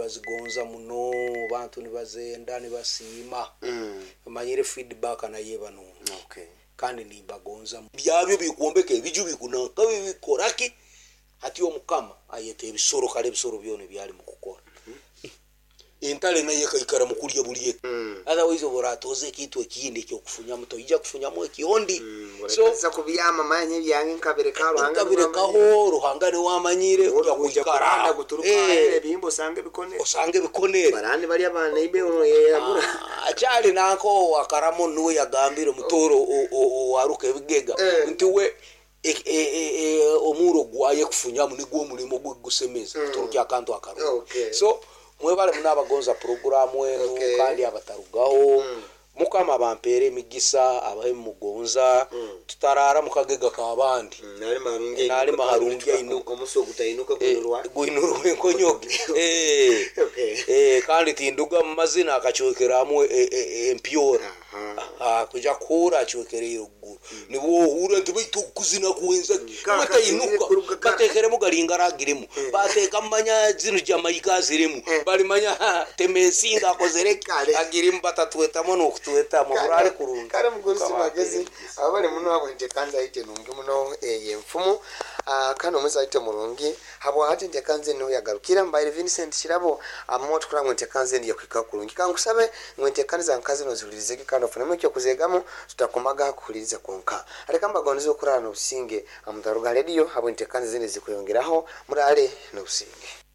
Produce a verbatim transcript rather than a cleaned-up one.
Nibazigonza muno, bantu nibazenda, nibasiima. Mm. Manyire feedback nayo eba nungi. Okay. Kandi nimbagonza byabyo bikwombeka ebiju, bikunanka, bikoraki. Hati omukama ayeta ebisoro, kale ebisoro byona ebyali mukukora, entale nayo ekaikara mukulya buli eki. Mm. Otherwise oburatoza ekintu ekindi ekyokufunyamu, toija kufunyamu ekyondi. So so kubyama manye byange nkabireka Ruhanga. Nkabirekaho Ruhanga niwe amanyire kuja kwikara. Guturuka Eh, ebihimba osanga ebikonere. Osanga ebikonere. Barani bari abana ibe yamura. Akyali nanko wakaramo niwe yagambire mutoro owaruka ebigega Eh. nti we e- e- e- e, omuro gwaye kufunyamu nigwo omulimo gwe gusemeza kuturukya akantu akarungi. Okay. So mwebale muno abagonza puroguramu enu. Okay. Kandi abatarugaho, Mukama bampeere emigisa, abahe mugonza tutarara mukagega k'abandi. Nali Nali maharungi ainuka. Omusi ogutainuka Eh, gunurwa. Gwinurwa enkonyoge. Eh. Okay. Eh, kandi tinduga mu mazina akacwekeramu e- e- empyora. Aha. Ah, kuja kuhura acwekereire ogguru nibwo ohura nti baitu okuzina kwenza Ka- batainuka. kuruga ka- Batekeremu galingaragiremu, bateka manya zino Jamaika zirimu, balimanya ha, temensinga akozereki. Kale. Agirimu batatwetamu nokutwetamu burale kurungi. Kale mugurusi Mukama magezi. ampere. Abali muno abo ntekanza aite nungi muno eyo enfumu. Ah, kandi omuzi aite murungi habwahati ntekanze niho yagarukira mbaire Vincent Kirabo amo tukura ngu ntekanze ndiye kwika kurungi. Kankusabe ngu ntekaniza nkazi nozihulirizege kandi ofunemu ekyokuzegamu, tutakomaga kuhuliriza kwonka. Areka mbagonize okurara n'obusinge amutaruga rediyo abo ntekanze zindi zikuyongeraho. Murale n'obusinge.